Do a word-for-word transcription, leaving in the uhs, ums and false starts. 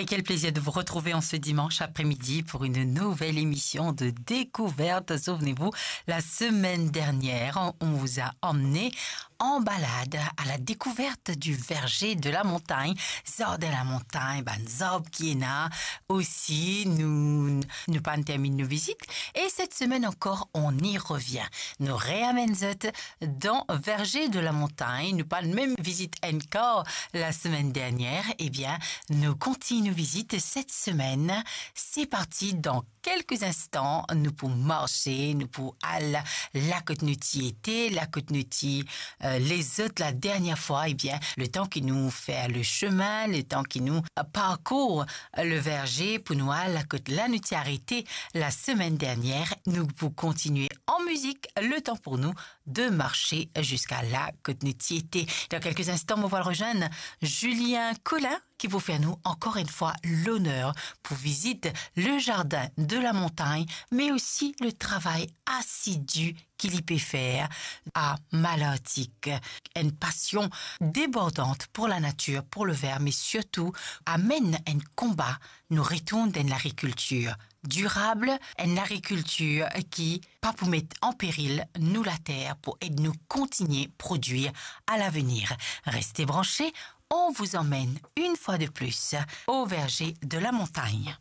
Et quel plaisir de vous retrouver en ce dimanche après-midi pour une nouvelle émission de découverte. Souvenez-vous, la semaine dernière, on, on vous a emmené en balade à la découverte du verger de la montagne, zardin la montagne, bann zarb ki ena. Osi, nou, nou pa'nn terminn nou vizit. Et cette semaine encore, on y revient. Nou reamenn zot dan verger de la montagne. Nou pa'nn mem vizit enn kar la semaine dernière. Eh bien, nou kontign nou vizit cette semaine. C'est parti, dans quelques instants, nou pou marse, nou pou al la kot nou ti ete, la kot nou ti, euh, lezot la dernière fois. Eh bien, le temps que nous faire le chemin, le temps que nous parcours le verger pou nou al la kot la nou ti arete la semaine dernière, nou pou kontigne an mizik, le temps pour nous de marcher jusqu'à la kot nou ti ete. Dans quelques instants, mo pou al rezwenn Julien Collin, ki pou fer nou encore une fois l'honneur pou vizit le jardin de la montagne, mais aussi le travail assidu ki li pe fer a Malartic. Une passion débordante pour la nature, pour le vert, mais surtout amenn enn konba, nou retourn dan enn lagrikiltir dirab, enn lagrikiltir ki pa pou met an peril nou later, pou ed nou kontigne prodwir à l'avenir. Restez branchés, on vous emmène une fois de plus au verger de la montagne.